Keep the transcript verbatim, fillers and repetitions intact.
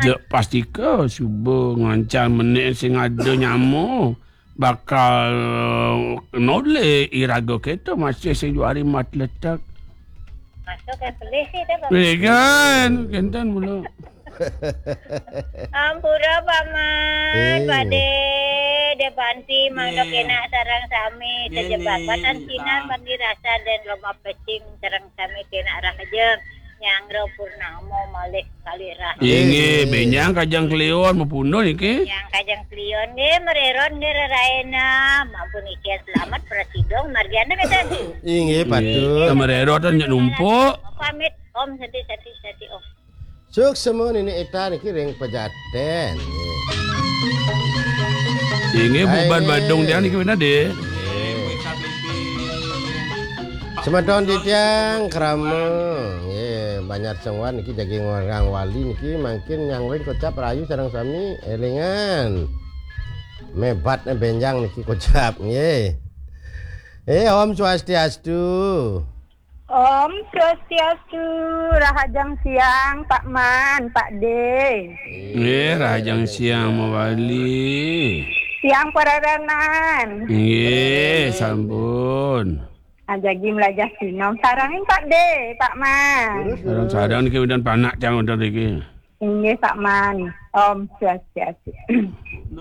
Dek pastika suba ngancan menek sing ada nyama bakal noleh iraga keto masih sing juari mat letek. Masuk ke pelih sih dah, Pak. Weh, kan, kenten mula. Ampura, Pak Man, Pak De, De Panti, mangda kenak sareng sami, sajebabat sinar manggi rasa dan loba pecing sareng sami kenak rahajeng. Nyanggra purnama malih kalih rahajeng. Inggih, benjang kajeng kliwon mapundun niki. Nyang kajeng kliwon nggih, marerot nggih reraena. Mampun niki selamat prasidong margiana kenten. Inggih, patut. Marerot nyak numpuk. Pamit, Om, sati, sati, sati, Om. Suksma Nini Ita niki ring Pejaten. Inggih, buban Badung tiang niki bener, Dik. Semeton titiang krama, nggih, Banjar Sengwan niki jagi ngorang wali niki mangkin nyangwin kocap rayu sareng sami elingan. Mebat benjang niki kocap, nggih. Eh, Om Swastiastu. Om Swastiastu, rahajeng siang, Pak Man, Pak De. Nggih, rahajeng siang mawali. Siang parerenan. Nggih, sampun. Ajagi melajah sinom. Sarengin Pak De, Pak Man. Sareng-sareng niki wénten panak tiang wénten niki. Inggih, Pak Man. Om Swastiastu.